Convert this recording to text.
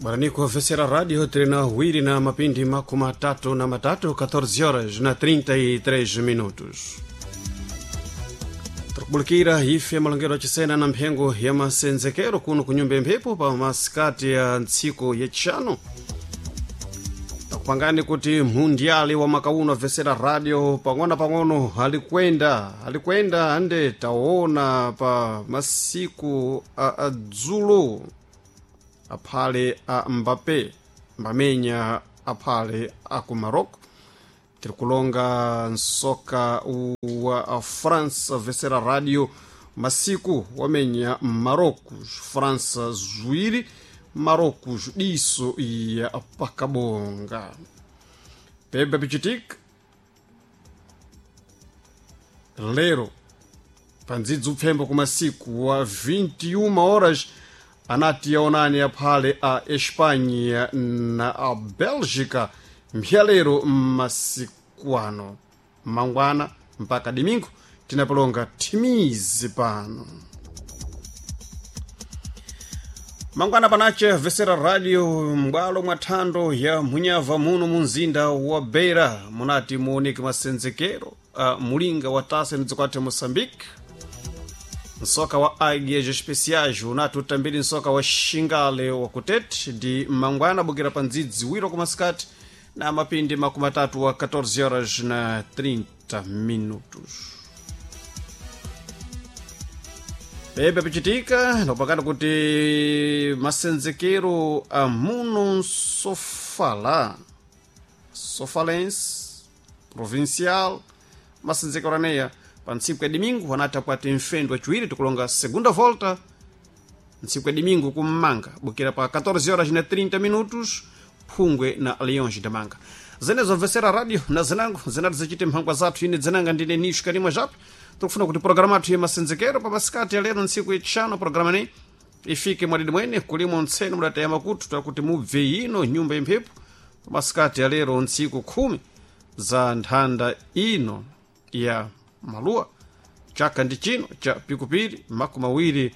Bwaraniko vesera radio trena wiri na mapindi 33, 14 horas na 33 minutos. Tikubulikira ife malongero achisena na mphengo ya masenzekero kuno kunyumba ya mphepo pa masikati ya ntsiku yachishanu. Takupangani kuti mundiali wa makauno avesera radio pang'ono pang'ono alikwenda alikwenda ande taona pa masiku a dzulo aphale a Mbappe mbamenya aphale a ku Marocco. Tiri kulonga nsoka wa France vesera radio masiku wamenya Marocco, France ziwiri Marocco diso ya pakabonga. Pebe pichitika lero pandzidzi upfembo kumasiku wa 21 horas anati yaonani aphale a Espanha na a Bélgica mphyalero mmasiku ano mangwana mpaka domingo tinapolonga thimizi pano mangwana panache vesera radio m'bwalo mwa thando ya munyava muno mu mzinda wa Beira munati muoneke masenzekero a mulinga wa tasa mdzikwathu Moçambique. Nsoka wa Águias Especiais unati utambiri nsoka wa Xingale wa kutete ndi mangwana bukira pa ndzidzi wiro kumasikati na mapindi 30 wa 14 horas na 30 minutos. Bebe pichitika nopakana kuti masenzekero a muno Sofala Sofalense Provincial masenzekero aneya pa ntsiku ya domingo anati akwati mfendo wachiwiri tikulonga segunda volta ntsiku ya domingo kummanga bukira pa 14 horas na 30 minutos Phungwe na Leões da Manga. Zenezo mvesera radio na zinango zinati zichite mphangwa zathu ine dzinanga ndine Nisho Karimwa Jape. Tikufuna kuti programa athu ya masenzekero pa masikati ya lero ntsiku yachishanu programa neyi ifike mwadidi mwene kulimo ntseno mudataya makutu takuti mubve ino nyumba ya mphepo pa masikati ya lero ntsiku 10 za nthanda ino ya maluwa chaka ndi chino cha pikupiri 26.